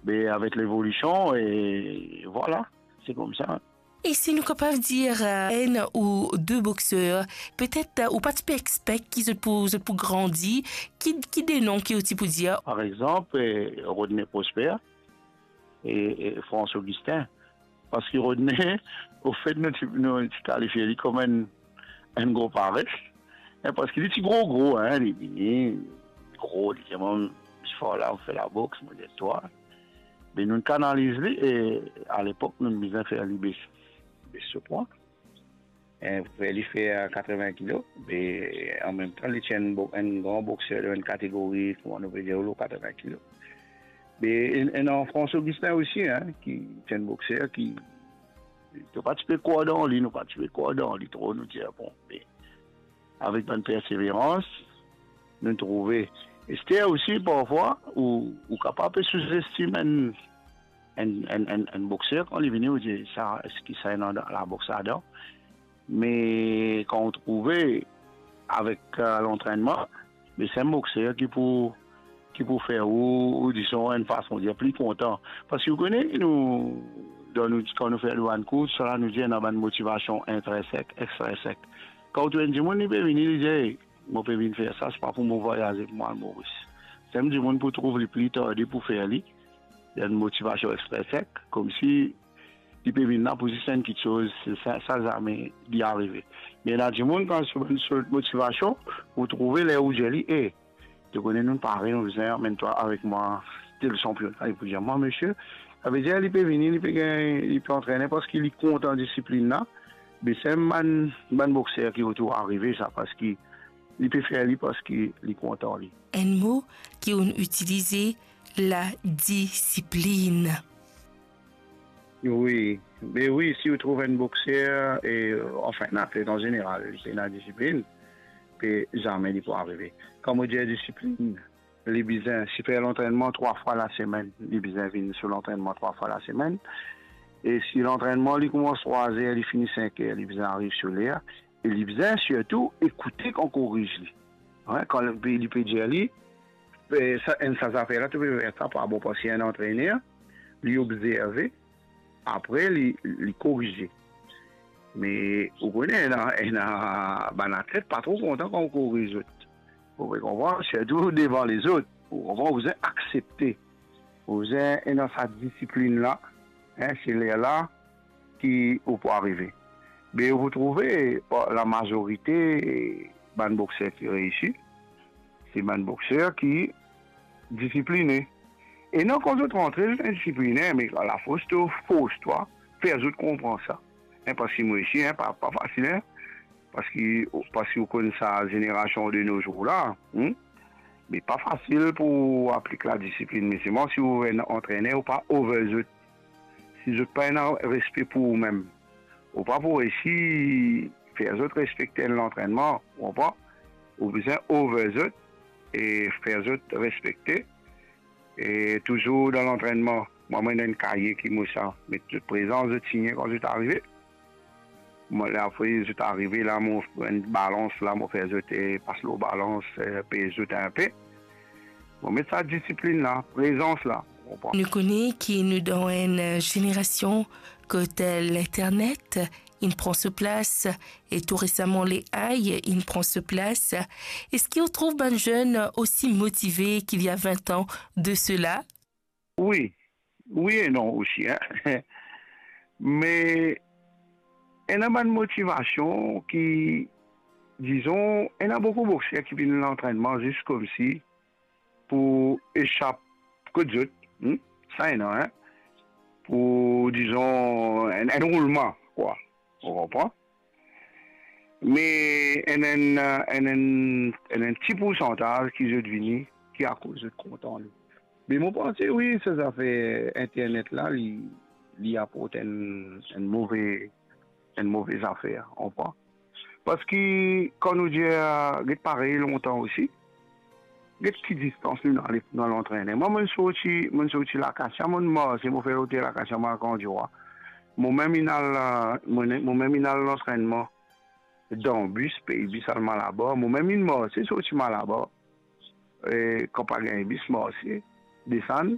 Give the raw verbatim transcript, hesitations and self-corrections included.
Me avek levolision, e vwala, se koumsa. E si nou kapav dir, eh, enn ou de bokser, petet, eh, ou pa ti pe expect ki zot pou, zot pou grandi, ki, ki de non ki ou ti pou dir? Par exanp, eh, Rodney Prosper e, e Frans Augustin. Parski Rodney, ofet, nou ti, nou ti kalifie li kom enn, enn gro pares. Parski li ti gro, gro, hein, li vini, gro, li dir, "Mwa, mo fer la, mo fer laboks," mo dir, "Twa." Me nou kanaliz li, e alepok, nou bizin fer li bes, bes so pwa. E fer li fer katreven kilo, me anmemtan, li ti enn bo-, enn gran bokser dan enn kategori, kouma nou pe dir, lor katreven kilo. Me enn, enn Frans Augustin osi, hein, ki ti enn bokser ki, to pa ti pe krwar dan li, nou pa ti pe krwar dan li tro, nou dir, bon, me avek bann perseverans, nou trouve. Ester osi, parfwa, ou, ou kapav pe souzestim enn, enn, enn, enn, enn bokser, kan li vini, ou dir, "Sa, eski sa ena laboks ladan?" Me kan ou trouve avek, eh, lantrennman, me se enn bokser ki pou, ki pou fer ou, ou dizon, enn fason dir, pli kontan. Parski ou kone, nou, dan nou, kan nou fer nou bann kours, sa la, nou dir ena bann motivasion intrinsek, extrinsek. Kan ou trouv enn dimoun, li pe vini, li dir, "Ey, mo pe vinn fer sa, se pa pou mo vwayaze, pou mo al Moris." Sa enn dimoun pou trouv li pli tarde pou fer li. Li ena enn motivasion extrinsek, koumsi li pe vinn la pou zis enn kiksoz, sa, sa zame li arive. Me ena dimoun, kan so bann sort motivasion, ou trouve ler ou dir li, "E, to kone nou pare, nou bizin amenn twa avek mwa tel sanpiona." Li pou dir, "Mwa, misie," savedir li pe vini, li pe gagn, li pe antrene parski li kontan disiplinn la. Me se bann, bann bokser ki otour arive sa, parski li pe fer li parski li kontan li. Enn mo ki ou'nn itilize, ladisiplinn. Wi, me wi, si ou trouv enn bokser, e, anfin, enn atlet an zeneral, li pena disiplinn, pe zame li pou arive. Kan mo dir disiplinn, li bizin, si fer lantrennman trwa fwa lasemenn, li bizin vinn so lantrennman trwa fwa lasemenn. E si lantrennman, li koumans trwa zer, li fini sink er, li bizin ariv so ler. E li bizin sirtou ekoute kan koriz li. Wi, kan li pe, li pe dir li, e, sa, enn sa zafer la, to pe fer sa pa bon, parski enn antrener, li obzerve, apre li, li korize. Me ou kone, ena, ena bann atlet pa tro kontan kan ou koriz zot. Ou pe konpran, sirtou devan lezot. Ou konpran, ou bizin aksepte. Ou bizin ena sa disiplinn la, en, se lerla ki ou pou arive. Me ou pou trouve, bon, lamazorite bann bokser ki reisi, se bann bokser ki disipline. E non, kan zot rantre, zot indisipline, me lafors to fors twa, fer zot konpran sa. En, parski mo osi, en, pa, pa fasil, en. Parski, parski ou konn sa zenerasion de nos jours la, hmm? Me pa fasil pou aplik ladisiplinn, me selman si ou enn antrener, ou pa over zot. Si zot pa ena respe pou oumem, ou pa pou reisi fer zot respekte enn lantrennman, ou konpran? Ou bizin over zot e fer zot respekte. E touzour dan lantrennman, mwa, mo ena enn kaye ki mo sa met zot prezans, zot signe kan zot arive. Mo, apre zot arive la, mo pran enn balans la, mo fer zot, e, pas lor balans, e, pez zot inpe. Mo met sa disiplinn la, prezans la, ou konpran? Nou kone ki nou dan enn, e, zenerasion kot, e, linternet inn pran so plas, e tou resaman, le A I inn pran so plas. Eski ou trouv bann zenn osi motive ki li a vin an de sela? Wi, wi e non osi, en. Me ena bann motivasion ki, dizon, ena boukou bokser ki vinn lantrennman zis koumsi pou esap kot zot, hmm? Sa ena, en? Pou, dizon, enn, enn roulman, kwa. Ou konpran? Me enn, enn, enn, enn, enn ti poursantaz ki zot vini, ki akoz zot kontan li. Me mo panse, wi, sa zafer internet la, li, li aport enn, enn move, enn move zafer, ou konpran? Parski, kan nou dir, get parey lontan osi, get ki distans nou ale pou nou al antrene. Mwa, mo'nn sorti, mo'nn sorti Lakasia, mo'nn marse, mo fer lotel Lakasia, mo al Grandira. Momem inn al, mo'nn, momem inn al lantrennman dan bis, pey bis al Malabar. Momem inn marse, sorti Malabar. E, kan pa gagn bis, marse, desann,